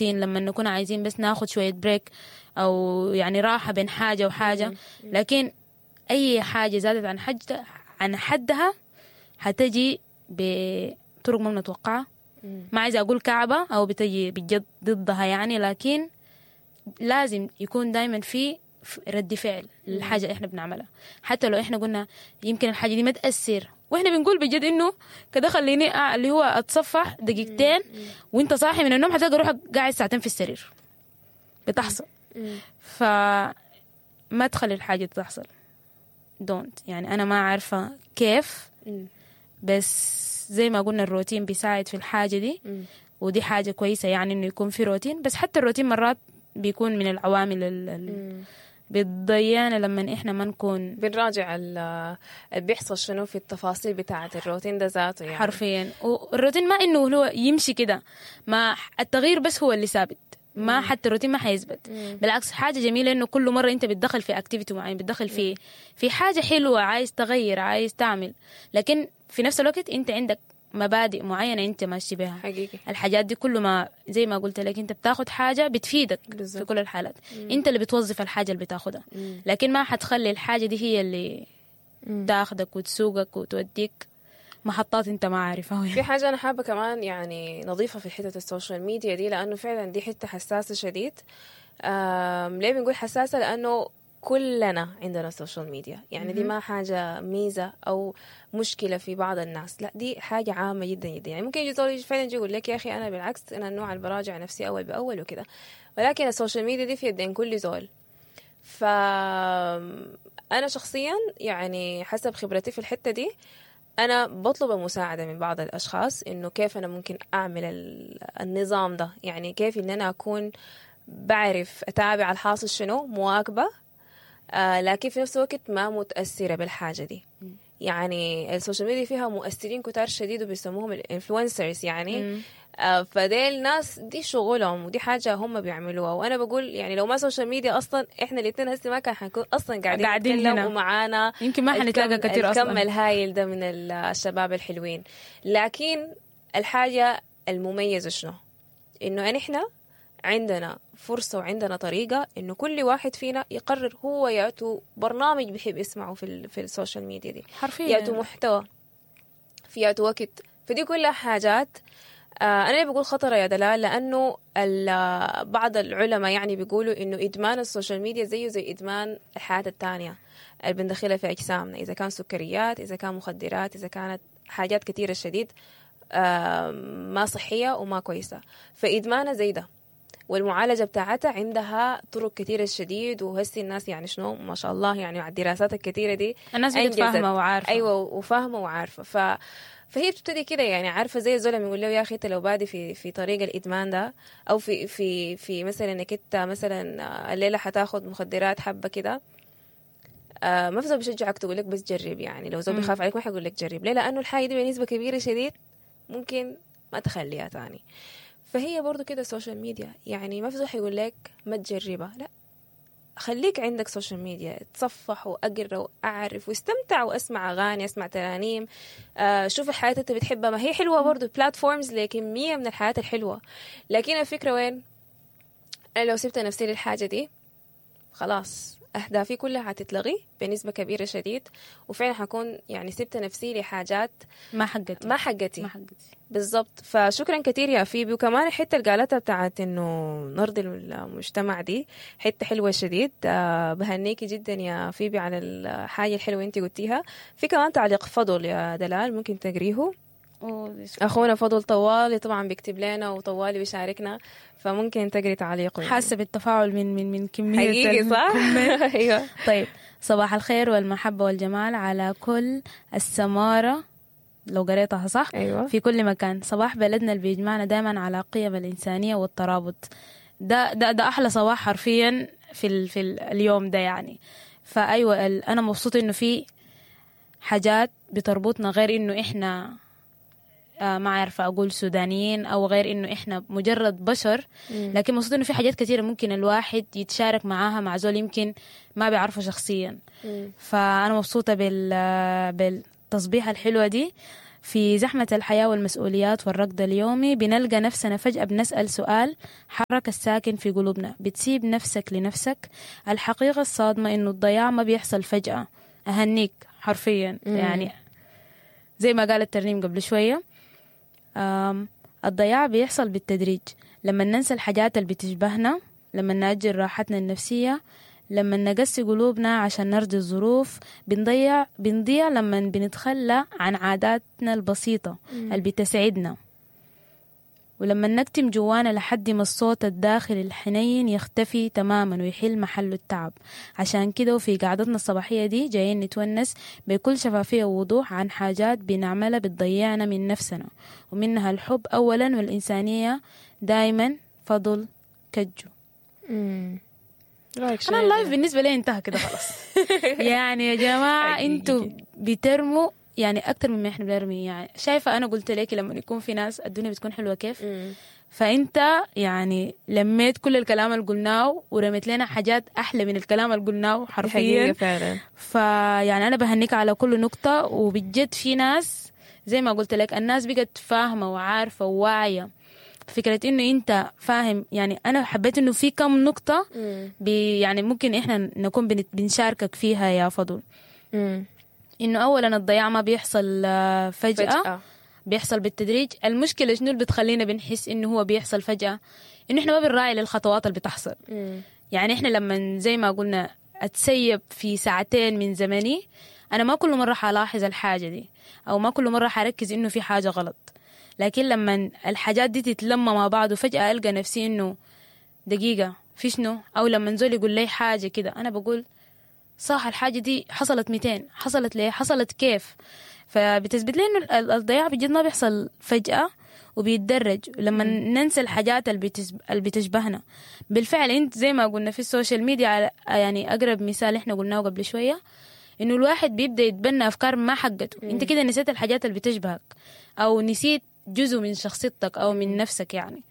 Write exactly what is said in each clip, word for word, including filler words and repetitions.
لما نكون عايزين بس ناخد شوية break أو يعني راحة بين حاجة وحاجة، لكن أي حاجة زادت عن حد عن حدها حتجي بطرق ما بنتوقعها. ما عايزة أقول كعبة أو بتجي بجد ضدها يعني، لكن لازم يكون دايما في رد فعل للحاجة اللي احنا بنعملها، حتى لو احنا قلنا يمكن الحاجة دي ما تأثر، واحنا بنقول بجد انه كده خليني اللي هو اتصفح دقيقتين وانت صاحي من النوم حتلقى روحك قاعد ساعتين في السرير، بتحصل. فما تخلي الحاجة تحصل، don't يعني انا ما عارفة كيف، بس زي ما قلنا الروتين بيساعد في الحاجة دي، ودي حاجة كويسة يعني انه يكون في روتين، بس حتى الروتين مرات بيكون من العوامل اللي بتضيعنا لما احنا ما نكون بنراجع اللي بيحصل شنو في التفاصيل بتاعة الروتين ده ذاته يعني. حرفيا. والروتين ما انه هو يمشي كده، ما التغيير بس هو اللي ثابت، ما حتى الروتين ما حيثبت. بالعكس حاجة جميلة انه كل مرة انت بتدخل في activity معين، بتدخل في في حاجة حلوة، عايز تغير، عايز تعمل، لكن في نفس الوقت انت عندك مبادئ معينة انت ماشي بها. حقيقي. الحاجات دي كل ما زي ما قلت لك انت بتاخد حاجة بتفيدك بالزبط. في كل الحالات. مم. انت اللي بتوظف الحاجة اللي بتاخدها، مم. لكن ما حتخلي الحاجة دي هي اللي مم. تاخدك وتسوقك وتوديك محطات انت ما عارفها. في حاجة انا حابة كمان يعني نضيفها في حتة ال social media دي، لانه فعلا دي حتة حساسة شديد. ليه بنقول حساسة؟ لانه كلنا عندنا social media، يعني دي ما حاجة ميزة أو مشكلة في بعض الناس، لا دي حاجة عامة جدا جدا. يعني ممكن يجي زول فعلا يجي يقول لك يا أخي أنا بالعكس أنا النوع اللي براجع نفسي أول بأول وكده، ولكن ال social media دي في يدين كل زول. فأنا شخصيا يعني حسب خبرتي في الحتة دي أنا بطلب المساعدة من بعض الأشخاص إنه كيف أنا ممكن أعمل النظام ده، يعني كيف إن أنا أكون بعرف أتابع الحاصل شنو، مواكبة، آه لكن في نفس الوقت ما متأثرة بالحاجة دي. يعني ال social media فيها مؤثرين كتار شديد وبيسموهم ال influencers يعني، آه فديل ناس دي شغلهم ودي حاجة هم بيعملوها. وأنا بقول يعني لو ما social media أصلا إحنا الاثنين هسه ما كان حنكون أصلا قاعدين, قاعدين هنا ومعانا يمكن ما حنتلاقى كتير أصلا الكم الهايل ده من الشباب الحلوين. لكن الحاجة المميزة شنو؟ إنه نحن عندنا فرصة وعندنا طريقة إنه كل واحد فينا يقرر هو يأتو برنامج بيحب يسمعه في في ال social media دي، حرفيا يأتو محتوى في يأتو وقت. فدي كلها حاجات آه أنا اللي بقول خطرة يا دلال، لأنه بعض العلماء يعني بيقولوا إنه إدمان ال social media زيه زي إدمان الحياة التانية اللي بندخلها في أجسامنا، إذا كان سكريات، إذا كان مخدرات، إذا كانت حاجات كثيرة شديد آه ما صحية وما كويسة. فإدمانها زي ده، والمعالجة بتاعتها عندها طرق كثيرة شديد. وهسي الناس يعني شنو ما شاء الله يعني مع الدراسات الكثيرة دي الناس بقت فاهمة وعارفة. أيوة وفاهمة وعارفة. ف... فهي بتبتدي كده يعني عارفة زي الزول لما يقول له يا أخي أنت لو بادي في في طريق الإدمان ده، أو في في في مثلا إنك أنت مثلا الليلة حتاخد مخدرات حبة كده، آه ما في زول بيشجعك تقول لك بس جرب. يعني لو زول بيخاف عليك ما حيقول لك جرب. ليه؟ لأنه الحاجة دي بنسبة كبيرة شديد ممكن ما تخليها تاني. فهي برضو كده ال social media، يعني ما في زول حيقول لك ما تجربها، لا خليك عندك social media، تصفح وأقرأ وأعرف واستمتع وأسمع أغاني، أسمع ترانيم، آه شوف الحياة أنت بتحبها، ما هي حلوة برضو، platforms لكمية من الحياة الحلوة. لكن الفكرة وين؟ أنا لو سبت نفسي للحاجة دي خلاص أهدافي كلها هتتلغي بنسبة كبيرة شديد، وفعلا حكون يعني سبت نفسي لحاجات ما حقتي ما حقتي ما حقتي بالضبط. فشكرا كثير يا فيبي. وكمان الحتة اللي قالتها بتاعت إنه نرضي المجتمع دي حتة حلوة شديد، أه بهنيكي جدا يا فيبي على الحاجة الحلوة انت قلتيها. في كمان تعليق فضل يا دلال ممكن تقريه، أخونا فضل طوالي طبعا بيكتب لنا وطوالي بيشاركنا، فممكن تقري تعليقه. يعني حاسة بالتفاعل من من من كمية حقيقي صح؟ أيوة. طيب صباح الخير والمحبة والجمال على كل السمارة، لو قريتها صح. أيوة. في كل مكان. صباح بلدنا اللي بيجمعنا دائما على قيم الإنسانية والترابط. ده ده ده أحلى صباح حرفيا في ال في ال اليوم ده يعني. فأيوة أنا مبسوطة إنه في حاجات بتربطنا غير إنه إحنا ما عارفة أقول سودانيين أو غير إنه إحنا مجرد بشر، لكن مبسوطة إنه في حاجات كثيرة ممكن الواحد يتشارك معاها مع زول يمكن ما بيعرفه شخصيا. مم. فأنا مبسوطة بال بالتصبيحة الحلوة دي. في زحمة الحياة والمسؤوليات والركض اليومي بنلقى نفسنا فجأة بنسأل سؤال حرك الساكن في قلوبنا، بتسيب نفسك لنفسك؟ الحقيقة الصادمة إنه الضياع ما بيحصل فجأة. أهنيك حرفيا. مم. يعني زي ما قالت ترنيم قبل شوية، آم، الضياع بيحصل بالتدريج، لما ننسى الحاجات اللي بتشبهنا، لما نأجل راحتنا النفسية، لما نقسي قلوبنا عشان نرضي الظروف، بنضيع بنضيع لما بنتخلى عن عاداتنا البسيطة اللي بتسعدنا، ولما نكتم جوانا لحد ما الصوت الداخلي الحنين يختفي تماما ويحل محله التعب. عشان كده وفي قعدتنا الصباحية دي جايين نتونس بكل شفافية ووضوح عن حاجات بنعملها بتضيعنا من نفسنا، ومنها الحب أولا والإنسانية دايما. فضل كجو. مم. رأيك شنو أنا يا ال live دلال؟ بالنسبة لي انتهى كده خلاص. يعني يا جماعة حقيقي. انتوا بترموا يعني أكتر مما احنا بنرمي. يعني شايفة أنا قلت لك لما يكون في ناس الدنيا بتكون حلوة كيف. مم. فانت يعني لميت كل الكلام اللي قلناه ورميت لنا حاجات احلى من الكلام اللي قلناه دي حقيقة حرفيا. فعلا. فيعني انا بهنيك على كل نقطة، وبجد في ناس زي ما قلت لك الناس بقت فاهمة وعارفة وواعية فكرة انه انت فاهم. يعني انا حبيت انه في كم نقطة مم. بي يعني ممكن احنا نكون بنت- بنشاركك فيها يا فضل. مم. انه اولا الضياع ما بيحصل آه، فجأة, فجأة. بيحصل بالتدريج. المشكلة شنو اللي بتخلينا بنحس إنه هو بيحصل فجأة؟ إنه إحنا ما بنراعي للخطوات اللي بتحصل. مم. يعني إحنا لما زي ما قلنا أتسيب في ساعتين من زمني، أنا ما كل مرة حلاحظ الحاجة دي، أو ما كل مرة حركز إنه في حاجة غلط. لكن لما الحاجات دي تتلم مع بعض وفجأة ألقى نفسي إنه دقيقة في شنو، أو لما زول يقول لي حاجة كده أنا بقول صح الحاجة دي حصلت ميتين، حصلت ليه، حصلت كيف. فبتثبت لي انه ال- الضياع بجد ما بيحصل فجأة وبيتدرج لما ننسى الحاجات اللي بتس- اللي بتشبهنا. بالفعل انت زي ما قلنا في ال social media، على- يعني اقرب مثال احنا قلناه قبل شوية، انه الواحد بيبدأ يتبنى افكار ما حقته. انت كده نسيت الحاجات اللي بتشبهك، او نسيت جزء من شخصيتك او من نفسك يعني.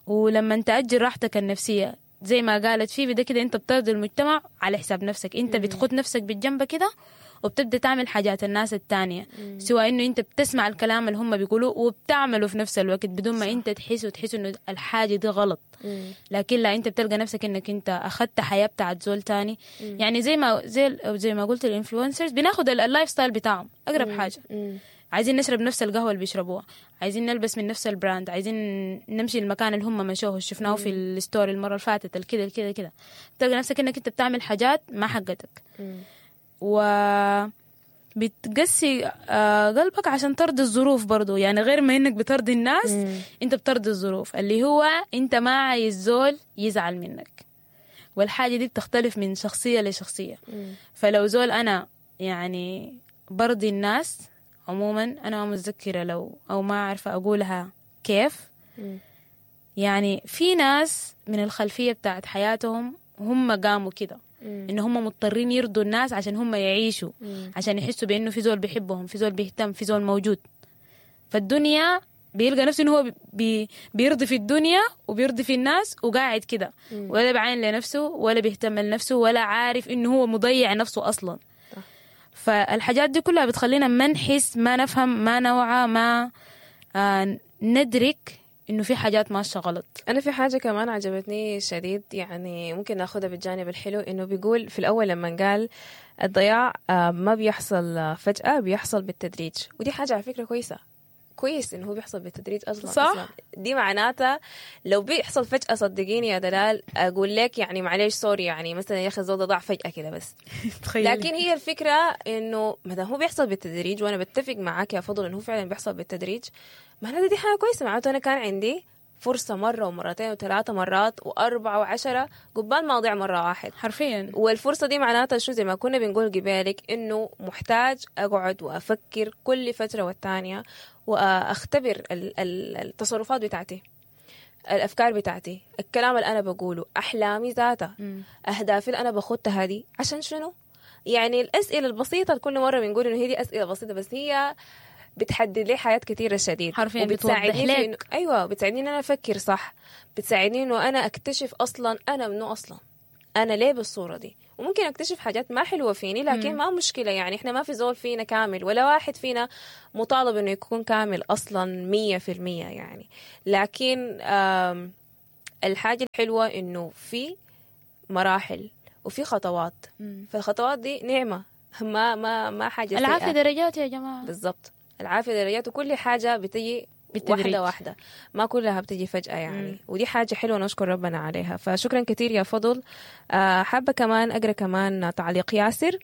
ولما تأجل راحتك النفسية زي ما قالت في ده كده انت بترضي المجتمع على حساب نفسك. انت بتخد نفسك بالجنب كده وبتبدا تعمل حاجات الناس التانية، سواء انه انت بتسمع الكلام اللي هم بيقولوه وبتعمله في نفس الوقت بدون ما انت تحس وتحس انه الحاجة دي غلط. مم. لكن لا، انت بتلقى نفسك انك انت اخذت حياة بتاعت زول تاني. يعني زي ما زي زي ما قلت ال influencers بناخد ال- ال lifestyle بتاعهم اقرب حاجة. مم. عايزين نشرب نفس القهوة اللي بيشربوها، عايزين نلبس من نفس ال brand، عايزين نمشي المكان اللي هم مشوه شفناه في ال story المرة اللي فاتت، الكده الكده كده. تلقى نفسك انك انت بتعمل حاجات ما حقتك، مم. و بتقسي آه، قلبك عشان ترضي الظروف برضو. يعني غير ما انك بترضي الناس، مم. انت بترضي الظروف، اللي هو انت ما عايز زول يزعل منك. والحاجة دي بتختلف من شخصية لشخصية. مم. فلو زول أنا يعني برضي الناس عموما، أنا ما متذكرة لو أو ما عارفة أقولها كيف. مم. يعني في ناس من الخلفية بتاعت حياتهم هم قاموا كده، مم. إن هم مضطرين يرضوا الناس عشان هم يعيشوا، مم. عشان يحسوا بإنه في زول بيحبهم، في زول بيهتم، في زول موجود. فالدنيا بيلقى نفسه إنه هو بي بيرضي في الدنيا وبيرضي في الناس وقاعد كده، ولا بعين لنفسه ولا بيهتم لنفسه ولا عارف إنه هو مضيع نفسه أصلا. صح. فالحاجات دي كلها بتخلينا ما نحس، ما نفهم، ما نوعى، ما آه ندرك إنه في حاجات ماشية غلط. أنا في حاجة كمان عجبتني شديد، يعني ممكن ناخدها بالجانب الحلو، إنه بيقول في الأول لما قال الضياع آه، ما بيحصل آه، فجأة، بيحصل بالتدريج. ودي حاجة على فكرة كويسة، كويس إنه هو بيحصل بالتدريج أصلا. صح. أصلا دي معناتها لو بيحصل فجأة، صدقيني يا دلال أقول لك يعني معلش sorry، يعني مثلا يا أخي الزول ده ضاع فجأة كده بس. لكن هي الفكرة إنه ما دام هو بيحصل بالتدريج، وأنا بتفق معاك يا فضل إنه هو فعلا بيحصل بالتدريج، معناته دي حاجة كويسة. معناته أنا كان عندي فرصة مرة ومرتين وثلاثة مرات وأربعة وعشرة قبال ما أضيع مرة واحد. حرفيا. والفرصة دي معناتها شو؟ زي ما كنا بنقول قبالك إنه محتاج أقعد وأفكر كل فترة والتانية وأختبر ال- ال- التصرفات بتاعتي، الأفكار بتاعتي، الكلام اللي أنا بقوله، أحلامي ذاتها، أهدافي اللي أنا بخطها دي عشان شنو؟ يعني الأسئلة البسيطة اللي كل مرة بنقول إنه هي دي أسئلة بسيطة، بس هي بتحدد لي حياة كثيرة شديد. حرفياً وبتساعدني بتوضح في لك. إنه أيوة، بتساعدني إن أنا أفكر صح، بتساعدني إنه أنا أكتشف أصلا أنا منو أصلا، انا ليه بالصورة دي. وممكن اكتشف حاجات ما حلوة فيني، لكن ما مشكلة، يعني احنا ما في زول فينا كامل، ولا واحد فينا مطالب انه يكون كامل اصلا مية في المية يعني. لكن آم، الحاجة الحلوة انه في مراحل وفي خطوات، فالخطوات دي نعمه، ما ما ما حاجة سيئة. العافية درجات يا جماعة. بالضبط، العافية درجات، وكل حاجة بتجي بالتدريج. واحدة واحدة، ما كلها بتجي فجأة يعني. مم. ودي حاجة حلوة نشكر ربنا عليها. فشكرا كثير يا فضل. آه حابة كمان أقرأ كمان تعليق ياسر.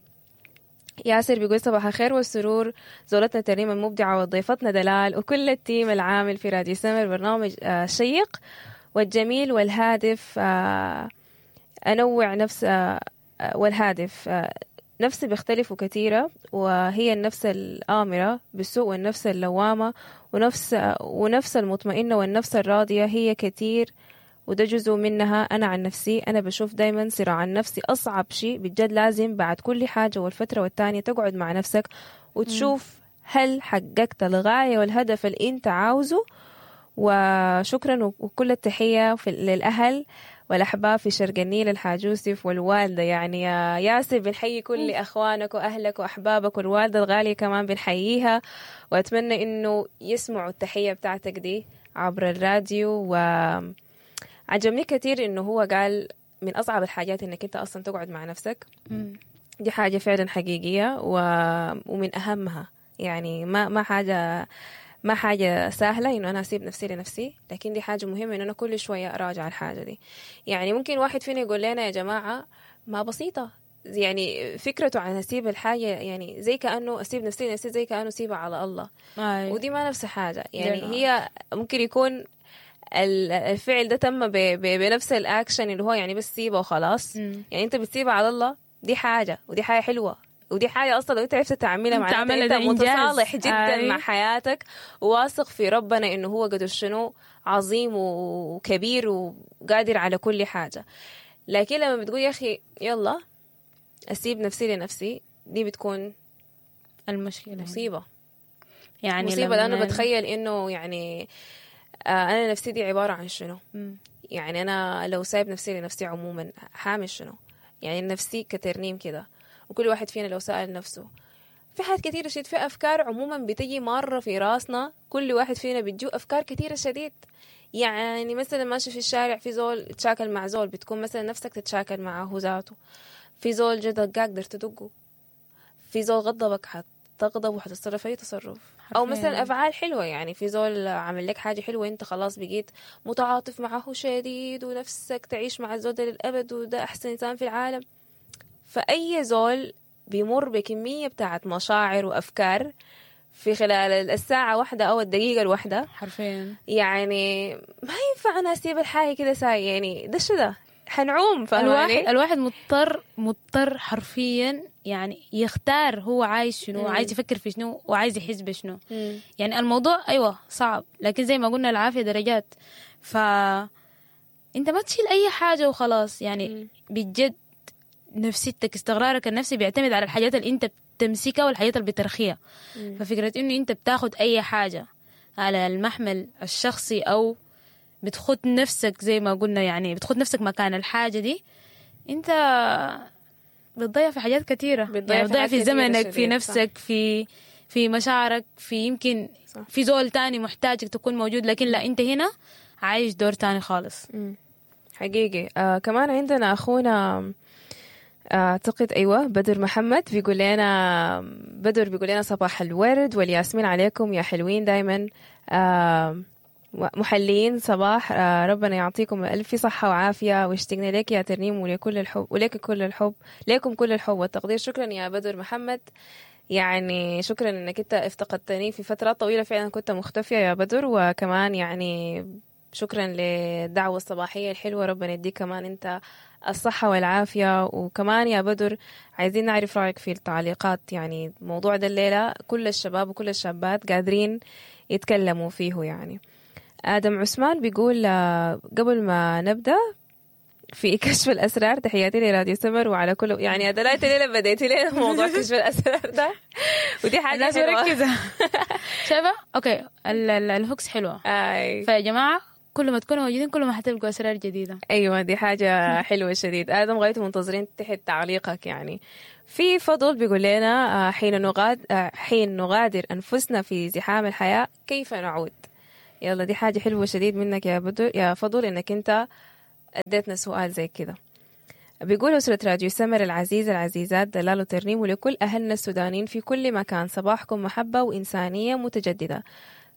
ياسر بيقول صباح الخير والسرور، زولتنا ترنيم المبدعة وضيفتنا دلال وكل ال team العامل في راديو سمر، برنامج آه شيق والجميل والهادف. آه أنوع نفس آه آه، والهادف آه نفسي بيختلفوا كثيرة، وهي النفس الآمرة بالسوء والنفس اللوامة ونفس ونفس المطمئنة والنفس الراضية، هي كثير وده جزء منها. أنا عن نفسي أنا بشوف دايما صراع النفسي أصعب شيء بجد، لازم بعد كل حاجة والفترة والتانية تقعد مع نفسك وتشوف هل حققت الغاية والهدف اللي أنت عاوزه. وشكرا وكل التحية في للأهل والأحباب في شرق النيل، الحاج يوسف والوالدة. يعني يا ياسر بنحيي كل أخوانك وأهلك وأحبابك، والوالدة الغالية كمان بنحييها، وأتمنى إنه يسمعوا التحية بتاعتك دي عبر الراديو. وعجبني كثير إنه هو قال من أصعب الحاجات إنك أنت أصلا تقعد مع نفسك. مم. دي حاجة فعلا حقيقية و... ومن أهمها، يعني ما ما حاجة ما حاجة سهلة إنه أنا أسيب نفسي لنفسي، لكن دي حاجة مهمة إنه أنا كل شوية أراجع الحاجة دي. يعني ممكن واحد فينا يقول لنا يا جماعة ما بسيطة، يعني فكرته عن أسيب الحاجة يعني زي كأنه أسيب نفسي لنفسي، زي كأنه أسيبها على الله. أي. ودي ما نفس حاجة يعني. لا. هي ممكن يكون ال- الفعل ده تم ب- ب- بنفس الأكشن اللي هو يعني بس سيبه وخلاص. مم. يعني انت بتسيبها على الله، دي حاجة ودي حاجة حلوة، ودي حاجة أصلا لو أنت عرفت تعملها معناتها تعملها أنت ده إنجاز. متصالح جدا أي. مع حياتك، وواثق في ربنا إنه هو قدر شنو عظيم وكبير وقادر على كل حاجة. لكن لما بتقول يا أخي يلا أسيب نفسي لنفسي، دي بتكون المشكلة هنا. مصيبة. يعني مصيبة، لأنه لما- بتخيل إنه يعني آه أنا نفسي دي عبارة عن شنو؟ مم. يعني أنا لو سايب نفسي لنفسي عموما حامل شنو؟ يعني نفسي كترنيم كده، وكل واحد فينا لو سأل نفسه في حاجات كثيرة شديد، في أفكار عموما بتجي مرة في راسنا، كل واحد فينا بتجو أفكار كثيرة شديد. يعني مثلا ماشي في الشارع في زول تشاكل مع زول، بتكون مثلا نفسك تتشاكل معه ذاته، في زول جا دقاك قدرت تدقه، في زول غضبك حتغضب وحتتصرف أي تصرف، أو حرفياً. مثلا أفعال حلوة، يعني في زول عمل لك حاجة حلوة أنت خلاص بقيت متعاطف معه شديد ونفسك تعيش مع الزول ده للأبد وده أحسن إنسان في العالم. فأي زول بيمر بكمية بتاعت مشاعر وأفكار في خلال الساعة واحدة أو الدقيقة الواحدة، حرفيا يعني ما ينفع أنا أسيب الحاجة كده ساي، يعني ده شو ده حنعوم، الواحد فاهماني؟ الواحد مضطر مضطر حرفيا يعني يختار هو عايز شنو، مم. عايز يفكر في شنو، وعايز يحس بشنو. مم. يعني الموضوع ايوه صعب، لكن زي ما قلنا العافية درجات. ف انت ما تشيل اي حاجة وخلاص يعني. مم. بجد نفسيتك، استقرارك النفسي بيعتمد على الحاجات اللي انت بتمسكها والحاجات اللي بترخيها. مم. ففكرة انه انت بتاخد اي حاجة على المحمل الشخصي او بتخد نفسك زي ما قلنا، يعني بتخد نفسك مكان الحاجة دي، انت بتضيع في حاجات كثيرة. بتضيع يعني في بتضيع حاجات في كتيرة زمنك، في شديد، صح. نفسك، في في مشاعرك، في يمكن صح. في زول تاني محتاجك تكون موجود، لكن لا انت هنا عايش دور تاني خالص. مم. حقيقي. آه كمان عندنا أخونا آه، أعتقد أيوة بدر محمد بيقول لنا، بدر بيقول لنا صباح الورد والياسمين عليكم يا حلوين دايما، آه محليين صباح، آه ربنا يعطيكم ألف صحة وعافية، واشتقنا لك يا ترنيم ولكل الحب، ولك كل الحب، لكم كل الحب والتقدير. شكرا يا بدر محمد، يعني شكرا انك انت افتقدتني في فترة طويلة، فعلا كنت مختفية يا بدر، وكمان يعني شكرا للدعوة الصباحية الحلوة، ربنا يديك كمان انت الصحة والعافية. وكمان يا بدر عايزين نعرف رأيك في التعليقات، يعني الموضوع ده الليلة كل الشباب وكل الشابات قادرين يتكلموا فيه. يعني آدم عثمان بيقول آه، قبل ما نبدأ في كشف الأسرار تحياتي لراديو سمر وعلى كل، يعني دلعت ليلة بديتي لنا موضوع كشف الأسرار ده، ودي حاجة الناس حلوة. مركزة. شايفة؟ okay، ال- ال- ال hooks حلوة. أي. فيا جماعة كل ما تكونوا موجودين كل ما حتلقوا أسرار جديدة. ايوه دي حاجة حلوة شديد. ادم غايته منتظرين تحت تعليقك يعني. في فضل بيقول لنا آه، حين نغاد آه، حين نغادر انفسنا في زحام الحياة كيف نعود؟ يلا دي حاجة حلوة شديد منك يا بدر يا فضل انك انت اديتنا سؤال زي كده. بيقول أسرة راديو سمر العزيزة العزيزات دلال وترنيم ولكل أهلنا السودانيين في كل مكان، صباحكم محبة وإنسانية متجددة.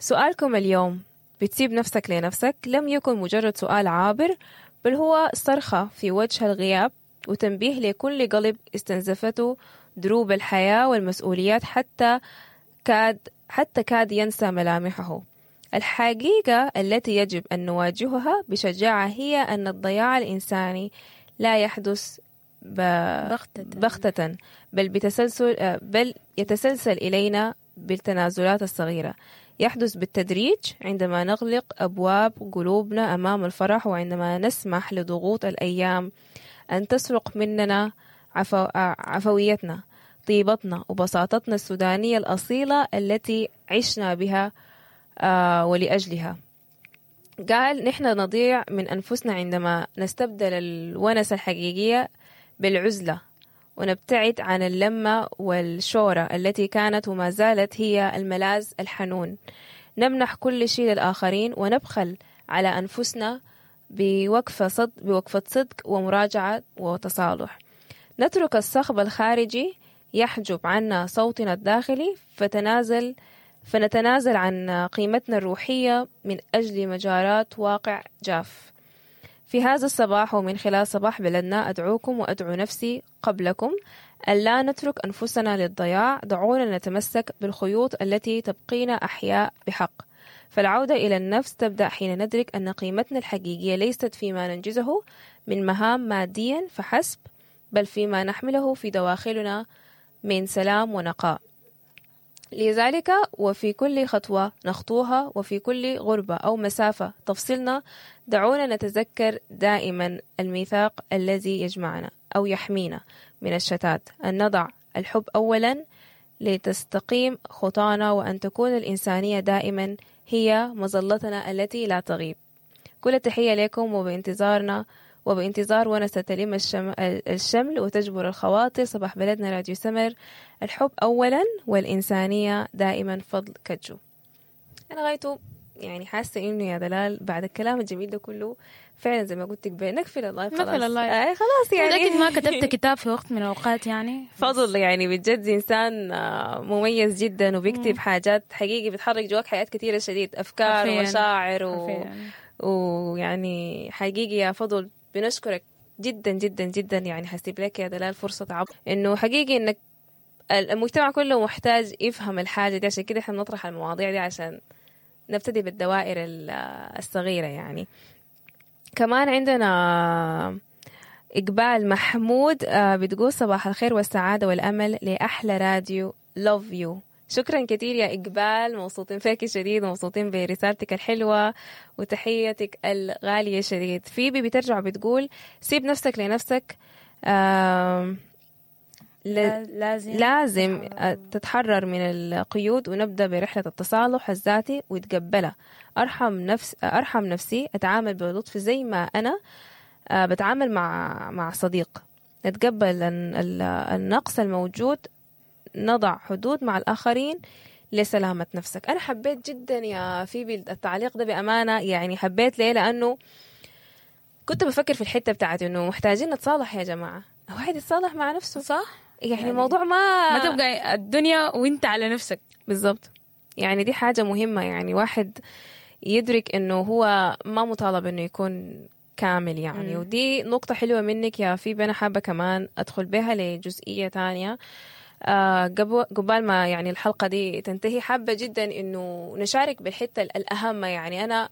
سؤالكم اليوم بتسيب نفسك لنفسك لم يكن مجرد سؤال عابر، بل هو صرخة في وجه الغياب وتنبيه لكل قلب استنزفته دروب الحياة والمسؤوليات حتى كاد حتى كاد ينسى ملامحه. الحقيقة التي يجب أن نواجهها بشجاعة هي أن الضياع الإنساني لا يحدث ب... بغتة. بغتة، بل بتسلسل آه، بل يتسلسل إلينا بالتنازلات الصغيرة. يحدث بالتدريج عندما نغلق أبواب قلوبنا أمام الفرح، وعندما نسمح لضغوط الأيام أن تسرق مننا عفو... آه، عفويتنا، طيبتنا وبساطتنا السودانية الأصيلة التي عشنا بها آه، ولأجلها. قال نحن نضيع من أنفسنا عندما نستبدل الونس الحقيقية بالعزلة، ونبتعد عن اللمة والشورى التي كانت وما زالت هي الملاذ الحنون. نمنح كل شيء للآخرين ونبخل على أنفسنا بوقفة صدق, بوقفة صدق ومراجعة وتصالح. نترك الصخب الخارجي يحجب عنا صوتنا الداخلي، فتنازل فنتنازل عن قيمتنا الروحية من أجل مجارات واقع جاف. في هذا الصباح ومن خلال صباح بلدنا أدعوكم وأدعو نفسي قبلكم ألا نترك أنفسنا للضياع. دعونا نتمسك بالخيوط التي تبقينا أحياء بحق. فالعودة إلى النفس تبدأ حين ندرك أن قيمتنا الحقيقية ليست فيما ننجزه من مهام ماديا فحسب، بل فيما نحمله في دواخلنا من سلام ونقاء. لذلك وفي كل خطوة نخطوها وفي كل غربة أو مسافة تفصلنا، دعونا نتذكر دائما الميثاق الذي يجمعنا أو يحمينا من الشتات، أن نضع الحب أولا لتستقيم خطانا، وأن تكون الإنسانية دائما هي مظلتنا التي لا تغيب. كل التحية لكم، وبانتظارنا وبانتظار ونسة تلم الشم... الشمل وتجبر الخواطر. صباح بلدنا راديو سمر، الحب أولا والإنسانية دائما. فضل كجو. أنا غايته يعني حاسة إنه يا دلال بعد الكلام الجميل ده كله فعلا زي ما قلت لك نقفل ال live خلاص. نقفل ال live. آه خلاص يعني لكن ما كتبت كتاب في وقت من الأوقات يعني. فضل يعني بجد إنسان آه، مميز جدا وبيكتب حاجات حقيقي بتحرك جواك حاجات كثيرة شديد، أفكار حرفياً. ومشاعر و... حرفياً. ويعني حقيقي يا فضل بنشكرك جدا جدا جدا. يعني حسيب لك يا دلال فرصة عب انه حقيقي انك المجتمع كله محتاج يفهم الحاجة دي، عشان كده احنا بنطرح المواضيع دي عشان نبتدي بالدوائر ال- الصغيرة يعني. كمان عندنا إقبال محمود آه، بتقول صباح الخير والسعادة والأمل لأحلى راديو love you. شكرا كثير يا إقبال، مبسوطين فيك شديد ومبسوطين برسالتك الحلوة وتحيتك الغالية شديد. فيبي بترجع بتقول سيب نفسك لنفسك، آم، ل- لازم لازم تتحرر من القيود ونبدأ برحلة التصالح الذاتي وتقبلها. أرحم نفس أرحم نفسي، أتعامل بلطف زي ما أنا آه، بتعامل مع مع صديق. نتقبل ال- ال- النقص الموجود، نضع حدود مع الآخرين لسلامة نفسك. أنا حبيت جدا يا فيبي التعليق ده بأمانة، يعني حبيت ليه؟ لأنه كنت بفكر في الحتة بتاعت إنه محتاجين نتصالح يا جماعة، واحد يتصالح مع نفسه صح؟ يعني الموضوع ما ما تبقى الدنيا وانت على نفسك. بالضبط، يعني دي حاجة مهمة، يعني واحد يدرك انه هو ما مطالب انه يكون كامل يعني. مم. ودي نقطة حلوة منك يا فيبي، أنا حابة كمان أدخل بها لجزئية تانية آه قبل قبال ما يعني الحلقة دي تنتهي. حابة جدا إنه نشارك بالحتة الأهم، يعني أنا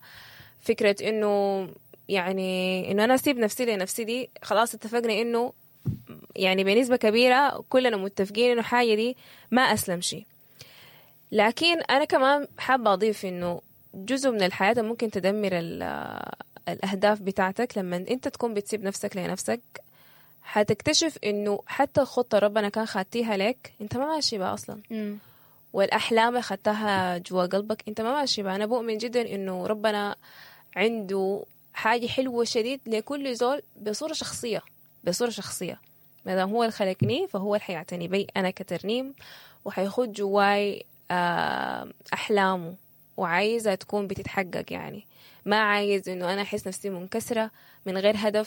فكرة إنه يعني إنه أنا أسيب نفسي لنفسي دي خلاص اتفقنا إنه يعني بنسبة كبيرة كلنا متفقين إنه حاجة دي ما أسلم شيء. لكن أنا كمان حابة أضيف إنه جزء من الحياة ممكن تدمر ال- الأهداف بتاعتك لما أنت تكون بتسيب نفسك لنفسك. حتكتشف إنه حتى الخطة ربنا كان خاتيها لك أنت ما ماشي بها أصلا، مم. والأحلام اللي خدتها جوا قلبك أنت ما ماشي بها. أنا بؤمن جدا إنه ربنا عنده حاجة حلوة شديد لكل زول بصورة شخصية، بصورة شخصية. ما دام هو اللي خلقني فهو اللي حيعتني بي أنا كترنيم، وحيخد جواي آه، أحلامه وعايزة تكون بتتحقق. يعني ما عايز إنه أنا أحس نفسي منكسرة من غير هدف.